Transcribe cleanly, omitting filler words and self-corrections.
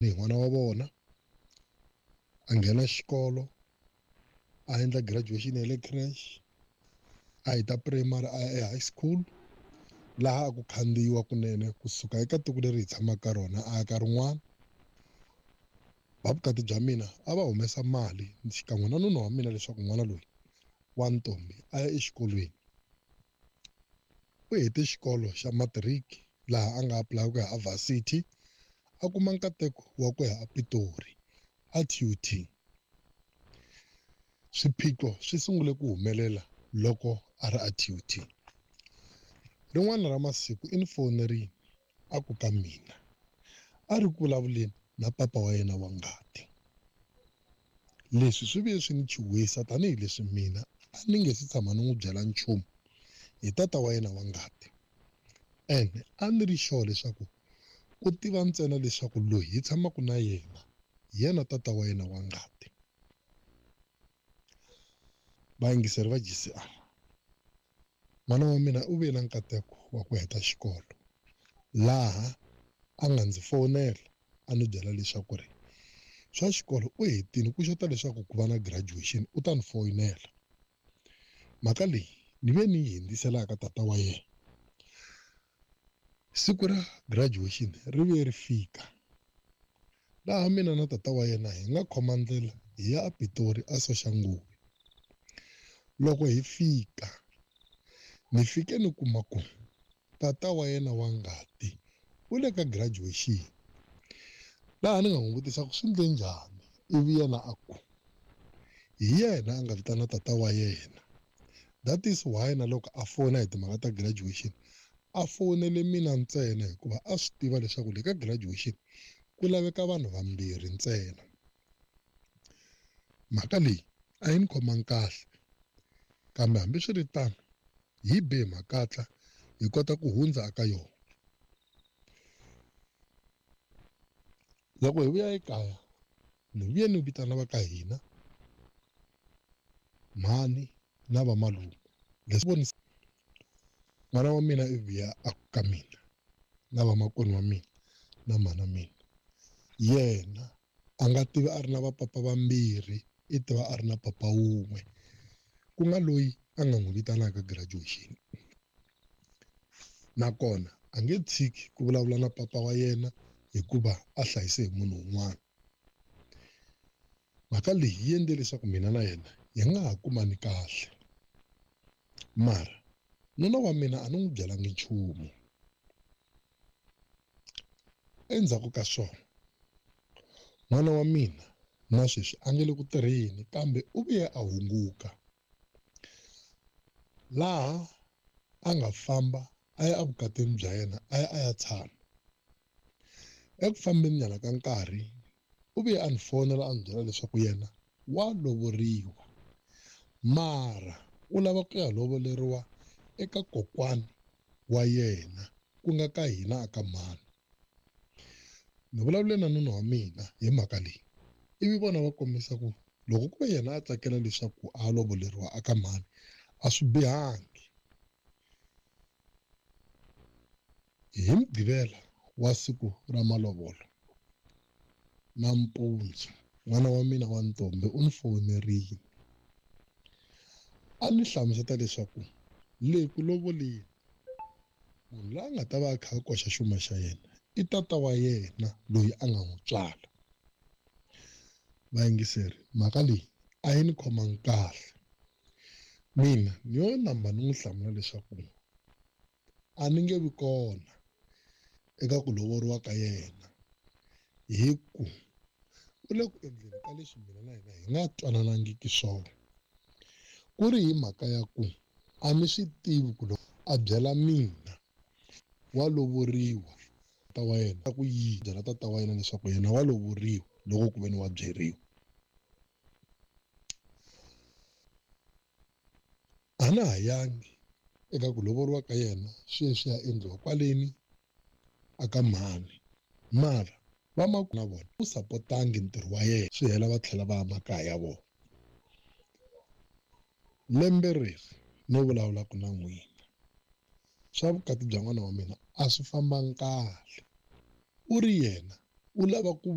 Ni n'wana wa vona a nghena xikolo a endla graduation ya le creche a heta primary a ya e-high school laha a ku khandziyiwa kunene kusuka eka tiko leri hi tshamaka ka rona a ya ka rin'wana. Va vukati bya mina a va humesa mali xikan'we na nuna wa mina leswaku n'wana loyi wa ntombi a ya exikolweni. U hete xikolo xa matric laha a nga apply ku ya a varsity a kuma nkateko wa ku ya ePitori a TUT. Swiphiqo swi sungule ku humelela loko a ri a TUT. Rin'wana ra masiku i ni fonerile a ku ka mina a ri ku vulavuleni na papa wa yena wa ngati. Leswi swi vuye swi ni chuhisa tanihileswi mina a ni nge si tshama ni n'wi byela nchumu hi tata wa yena wa ngati. Ene a ni ri sure leswaku u tiva ntsena leswaku loyi hi tshamaka na yena hi yena tata wa yena wa ngati. Vayingiseri va GCR, n'wana wa mina u ve na nkateko wa ku heta xikolo laha a nga ndzi fonela a ni byela leswaku ri swa xikolo u hetile ku xota leswaku ku va na graduation u ta ni foyinela. Mhaka leyi ni ve ni yi hundzisela ka tata wa yena. Siku ra graduation ri vuye ri fika laha mina na tata wa yena hi nga khoma ndlela hi ya ePitori a Soshanguve. Loko hi fika ni fike ni kuma ku tata wa yena wa ngati u le ka graduation laha ni nga n'wi vutisa ku swi endle njhani ivi yena a ku hi yena a nga vitana tata wa yena that is why na loko a fona hi timhaka ta graduation a fonele mina ntsena hikuva a swi tiva leswaku le ka graduation ku laveka vanhu vambirhi ntsena. Mhaka leyi a yi ni khomangi kahle kambe hambiswiritano hi be makatla hi kota ku hundza eka yona. Loko hi vuya ekaya ni vuye ni vitana va ka hina mhani na vamalume leswi vonisa n'wana wa mina i vuya a ku ka mina na vamakwenu wa mina na mhana mina yena a nga tivi a ri na vapapa vambirhi i tiva a ri na papa wun'we ku nga loyi a nga n'wi vitanaka graduation nakona a nge tshiki ku vulavula na papa wa yena hikuva a hlayise hi munhu un'wana. Mhaka leyi yi endle leswaku mina na yena hi nga ha kumani kahle mara nuna wa mina a ni n'wi byelangi nchumu. Endzhaku ka swona n'wana wa mina na sweswi a nge le ku tirheni kambe u vuye a hunguka laha a nga famba a ya evukatini bya yena a ya a ya tshama. Eku fambeni nyana ka nkarhi u vuye a ni fonela a ni byela leswaku yena wa lovoriwa mara u lava ku ya lovoleriwa eka kokwani wa yena ku nga ka hina a ka mhani. Ni vulavule na nuna wa mina hi mhaka leyi ivi vona va kombisa ku loko ku ve yena a tsakela leswaku a lovoleriwa a ka mhani a swi bihangi. Hi Mugqivela wa siku ra malovolo nampundzu n'wana wa mina wa ntombi u ni fonerile a ni hlamusela leswaku le ku lovoleni munhu loyi a nga ta va a kha a koxa xuma xa yena i tata wa yena loyi a nga n'wi tswala. Vayingiseri mhaka leyi a yi ni khomangi kahle mina ni yo namba ni n'wi hlamula leswaku a ni nge vi kona eka ku lovoriwa ka yena hi ku u le ku endleni ka leswi mina na yena hi nga twananangiki swona ku ri hi mhaka ya ku a ni swi tivi ku loko a byela mina wa lovoriwa tata wa yena ku yi byela tata wa yena leswaku yena wa lovoriwa loko ku ve ni wa byeriwa. A na ha yangi eka ku lovoriwa ka yena swi ye swi ya endliwa kwaleni a ka mhani mara va na vona u sapotangi ntirho wa yena swi hela va tlhela va ya makaya ya vona. Lembe reri no vulavulaka na n'wina swa vukati bya n'wana wa mina a swi fambangi kahle u ri yena. U lava ku.